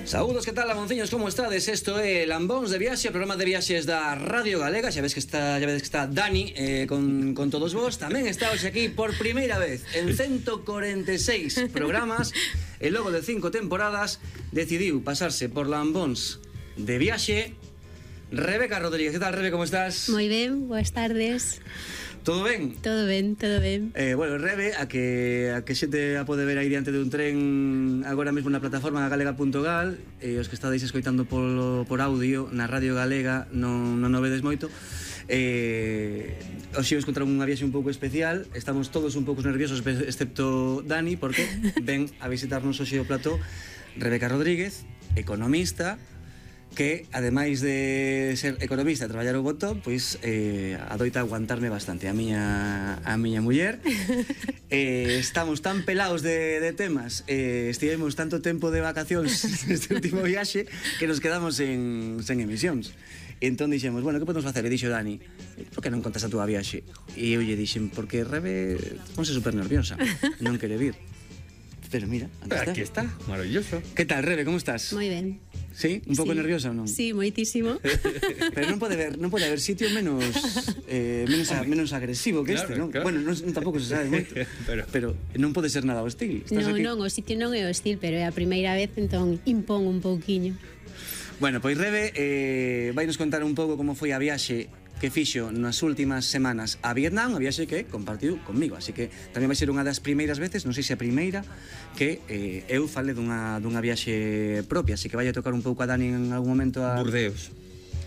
Saúdos, que tal, lamonciños, como estades? Isto é Lambóns de Viaxe, o programa de viaxes da Radio Galega. Xa vedes que está Dani con todos vos. Tamén está hoxe aquí por primeira vez en 146 programas e logo de 5 temporadas decidiu pasarse por Lambóns de Viaxe Rebeca Rodríguez. Que tal, Rebe, como estás? Moi ben, boas tardes. Todo ben? Todo ben, todo ben. Bueno, Rebe, a que xente a pode ver aí diante dun tren agora mesmo na plataforma galega.gal, os que estades escoitando por audio na Radio Galega non o vedes moito. Hoxe vos contar unha viaxe un pouco especial. Estamos todos un pouco nerviosos, excepto Dani, porque ven a visitarnos hoxe o plató Rebeca Rodríguez, economista, que, ademais de ser economista e traballar o botón, pois adoita aguantarme bastante a miña muller. Estamos tan pelados de temas, estivemos tanto tempo de vacacións neste último viaxe que nos quedamos sen emisións. Entón dixemos, bueno, que podemos facer? E dixo Dani, por que non contas a túa viaxe? E eu lle dixen, porque Rebe ponse super nerviosa, non quere vir. Pero mira, aquí está, maravilloso. Que tal, Rebe, como estás? Moi ben. Sí? Un pouco nerviosa ou non? Sí, moitísimo. Pero non pode haber sitio menos agresivo que este, non? Claro. Bueno, non tampouco se sabe moito. Pero non pode ser nada hostil. Non, o sitio non é hostil, pero é a primeira vez, entón impón un pouquiño. Bueno, pois Rebe vai nos contar un pouco como foi a viaxe que fixo nas últimas semanas a Vietnam, a viaxe que compartiu conmigo, así que tamén vai ser unha das primeiras veces, non sei se a primeira, que eu fale dunha viaxe propia, así que vai a tocar un pouco a Dani en algún momento a Burdeos.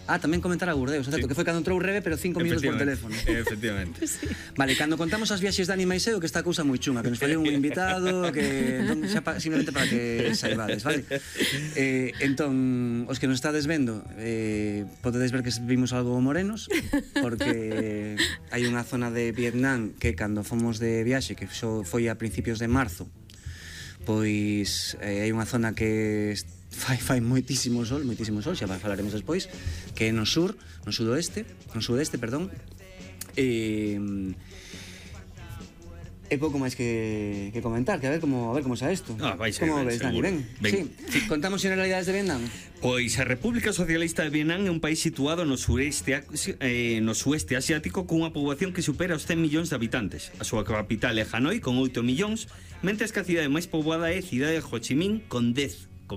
Tamén comentar a Burdeos, sí. Que foi cando entrou Rebe, pero 5 minutos por teléfono. Efectivamente. Sí. Vale, cando contamos as viaxes Dani Maiseo, que esta cousa moi chunga, que nos fallou un invitado, que entón, xa simplemente para que saibades, vale? Entón, os que nos estades vendo, podedes ver que vimos algo morenos, porque hai unha zona de Vietnam que cando fomos de viaxe, que foi a principios de marzo, pois hai unha zona que fai moitísimo sol, xa falaremos despois, que é no sudoeste, perdón. É pouco máis que comentar, que a ver como xa isto. Como ves, Dani? Ben. Sí, contamos generalidades de Vietnam. Pois a República Socialista de Vietnam é un país situado no sueste asiático cunha poboación que supera os 100 millóns de habitantes. A súa capital é Hanoi, con 8 millóns, mentres que a cidade máis poboada é a cidade de Ho Chi Minh, con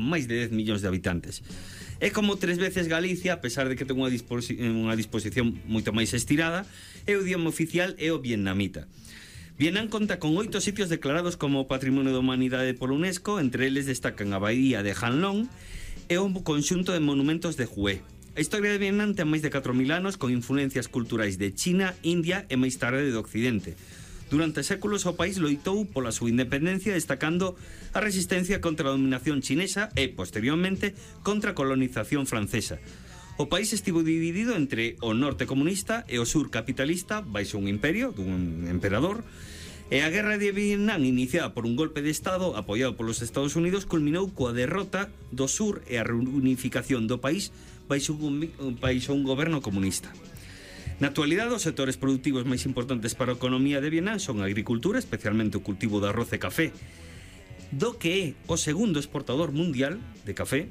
máis de 10 millóns de habitantes. É como 3 veces Galicia, a pesar de que ten unha disposición moito máis estirada, e o idioma oficial é o vietnamita. Vietnam conta con 8 sitios declarados como Patrimonio da Humanidade por UNESCO, entre eles destacan a Baía de Han Long e un conxunto de monumentos de Hue. A historia de Vietnam ten máis de 4.000 anos, con influencias culturais de China, India e máis tarde do Occidente. Durante séculos o país loitou pola súa independencia, destacando a resistencia contra a dominación chinesa e, posteriormente, contra a colonización francesa. O país estivo dividido entre o norte comunista e o sur capitalista, baixo un imperio dun emperador, e a guerra de Vietnam, iniciada por un golpe de estado apoiado polos Estados Unidos, culminou coa derrota do sur e a reunificación do país baixo un goberno comunista. Na actualidade, os sectores productivos máis importantes para a economía de Vietnam son a agricultura, especialmente o cultivo de arroz e café, do que é o segundo exportador mundial de café,